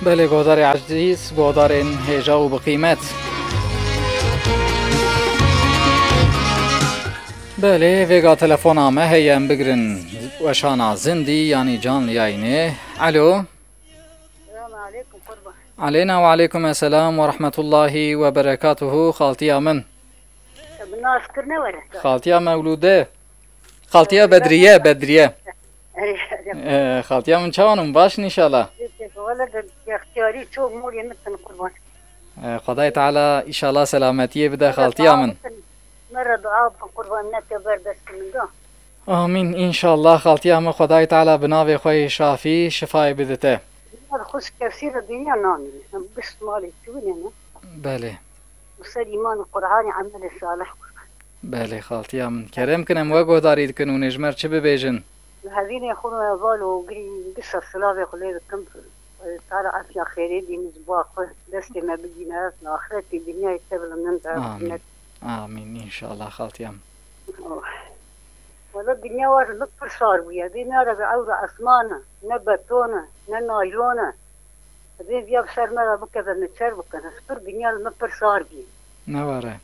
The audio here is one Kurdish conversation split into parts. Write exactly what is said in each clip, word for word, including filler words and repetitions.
Belê, guhdarê ezîz, guhdarên hêja û bi qîmet. Belê, vêga telefona me heye, em bigirin weşana zindî, yanî canlı yayını. Alo. Selamun aleyküm, kurban. Aleyna ve aleyküm esselam ve rahmetullahi ve berekatuhu, xaltiya min. Bi nas kir ne were. Xaltiya Mewlûde. Xaltiya Bedriye, Bedriye. Ee, xaltiya min çawan in? Baş in înşallah. Wele de extiyarî çok molê min tin kurban. Ee, Xwedayê Teala înşallah selametiyê bide xaltiya min. Me re dua bikin kurban, ne te ber destê min da. Amîn. Înşallah xaltiya min Xwedayê Teala bi navê xwe yê şafî şifayê bidite. Xwişk kesî re dinya namîne. Em bişt malê çûnê ne. Belê. Û ser îman û Qur'anê emelê salih. Belê, xaltiya min. Kerem kin, em we guhdarî dikin û nêjmer çi bibêjin? Li hevînê xwe me val û girî disa silavê xwe lê dikim. Tara efiya xêrê dîn ji bo xwe destê me bigîne, li axretê dinyayê te bilind be. Amîn. Amîn, înşallah, xaltiya min. Oh. Wala dinya war li pir sar bûye. Dinya re bi ewra esman e, ne beton e, ne naylon e. Divê viya bi ser me re bikeve, min çer bikin. Pir dinya li min pir sar bî. Ne were.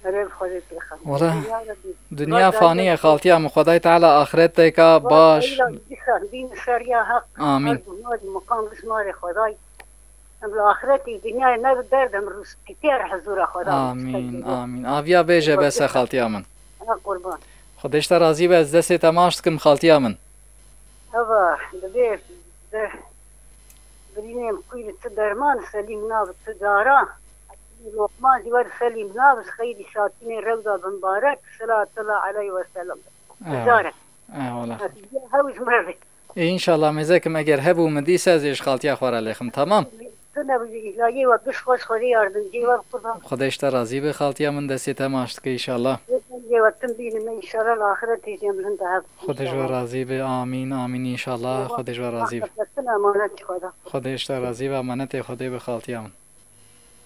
Erê bi Xwedê têxem. Wala, dinya re bî. Dinya fanî ye, xaltiya min. Xwedayê Teala axreteka baş. Dîsa, dîn ser ya heq. Amîn. Her guhmarî muqam bi şima rê Xwedayê. Em li axretê dinyayê ne bi derd, em rûspîtî her hizûra Xwedayê. Amîn, amîn. Aviya bêje bes e, xaltiya min. Ha, qurban. Xwedê ji te razî be, ez destê te maç dikim, xaltiya min. Eva, divê de birînê em xwî bi tu derman, Selîm nab tu cara. Lokman jî wer Selîm nab, xeyrî şatînê rewda bi mibarek, selatullah aleyh ve sellem. Eyvallah. Cara. Eyvallah. Hew ji me re. Ê, înşallah mêzekim eger hebû min dîse ez ê ji xaltiya xwe re lêxim, tamam? Tu ne bi îlayê we, biş xweş Xwedê yardimcî we bi qurban. Xwedê ji te razî be, xaltiya min destê te maç dike înşallah. Yê we tim bînim înşallah, li axiretê jî em li hin de hev. Xwedê ji we razî be, amîn, amîn înşallah. Xwedê ji we razî be. Xwedê ji te razî be, emanetê Xwedê be xaltiya min.